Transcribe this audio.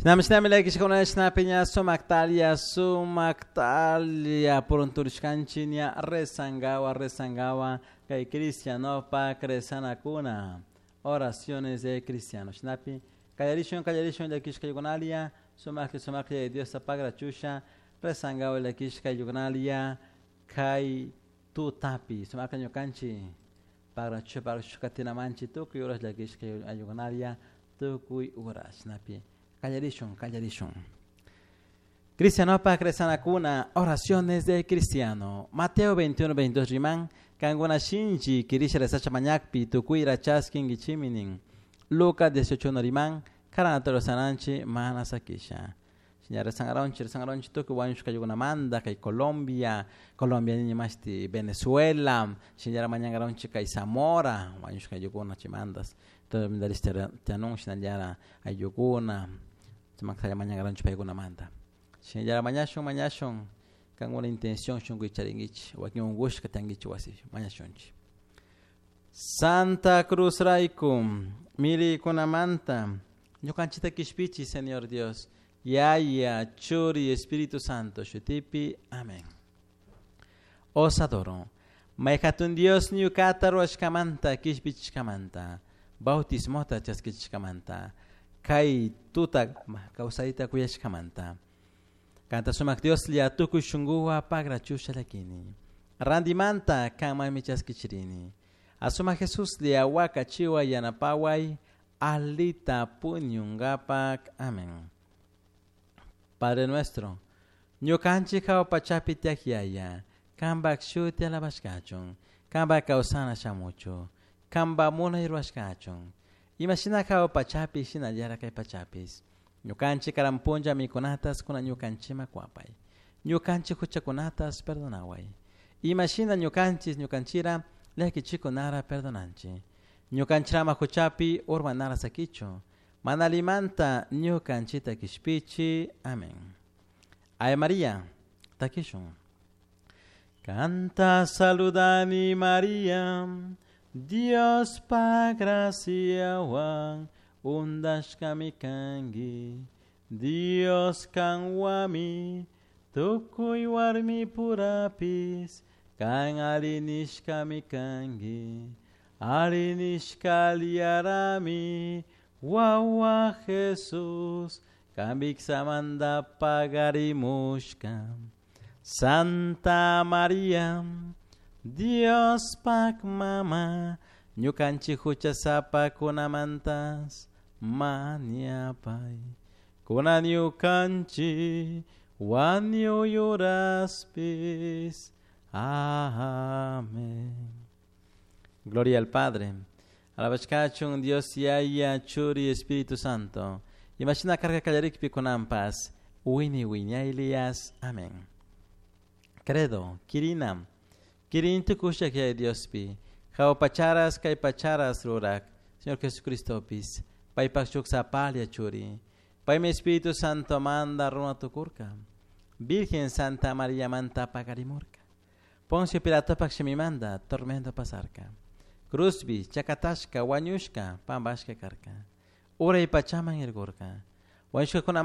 Shinami llakishkuna shinapiña sumaktalia sumaktalia purunturishkanchik ña rezangawa rezangawa kay cristianopak rezanakuna oraciones de cristiano. Shinapi kallarishun kallarishun llakishkaykunalia sumakli sumakli Diosta pagrachusha rezangawa llakishkaykunalia kay tutapi sumakla ñukanchik pagrachu pagrachu katinamanchik tukuy horas llakishkaykunalia tukuy horas shinapi kallarishun kallarishun. Cristianopak rezanakuna oraciones de cristiano. Mateo 21, 22 riman kankuna shinchi kirisha rezacha mañakpi tukuyra chaskinkichiminin. Lucas 18 riman karanata rezananchi mana sakisha. Shina rezangaronchi rezangaronchi tukuy wañushkaykunamanta kay Colombia, Colombia nini mashti Venezuela, shinallara mañangaronchi kay Zamora wañushkaykuna chaymantas tianun shinallara ayllukuna sumakta mañangaronchi paykunamanta. Shinallara mañashun mañashun kankuna intención shunkuy charinkichik wakin unkushka tiyankichik wasi mañashunchik. Santa Cruz rayku millaykunamanta ñukanchikta kishpichi Señor Dios Yaya Churi Espíritu Santo shutipi amén. Os adoro. May hatun Dios ñukata ruwashkamanta kishpichishkamanta bautismota chaskichishkamanta kay tuta kawsayta kuyashkamanta kanta sumak Dios lla tukuy shunkuwan pagrachusha llakini rantimanta kanmanmi chaskichirini asuma Jesús lla wakachiway yanapaway alita puñunkapak amén. Padre nuestro, ñukanchik hawa pachapi tiyak yaya, kanpak shuti alabashkachun, kanpak kawsana shamuchu, kanpak munay rurashkachun. Imashina hawa pachapi shinallara kay pachapis. Ñukanchik karan punlla mikunatas kuna ñukanchikman kuwapay. Ñukanchik huchakunatas perdonaway. Imashina ñukanchik ñukanchira llakichikunara perdonanchik. Ñukanchirama huchapi urmanara sakichu. Mana allimanta ñukanchikta kishpichi. Amén. Ave María, takishun. Kanta saludani María, Diospa graciawan undashkami kanki. Dios kanwami tukuy warmi purapis kan arinishkami kanki. Arinishka liarami wawa Jesús kambiksamanta pagarimushka. Santa María, Diospak mama, ñukanchik huchasapakunamantas mañapay. Kunan ñukanchik wañuy uraspis. Amén. Gloria al Padre. Alabashkachun Dios Yaya Churi Espíritu Santo. Imashina karka kallarikpi kunanpas. Wini wiñaylias. Amén. Credo, Kirina. Kirin tukushak Yaya Diospi. Hawa pacharas kay pacharas rurak. Señor Jesucristopis. Paypak shuk sapalla churi. Paymi Espíritu Santo manda runa tukurka. Virgen Santa María manta pagarimurka. Poncio Pilatopak shimimanda tormento pasarka. Cruzbi, chakatashka, wañushka, pambashka karka. Uray pachaman irgurka. Wañushkakuna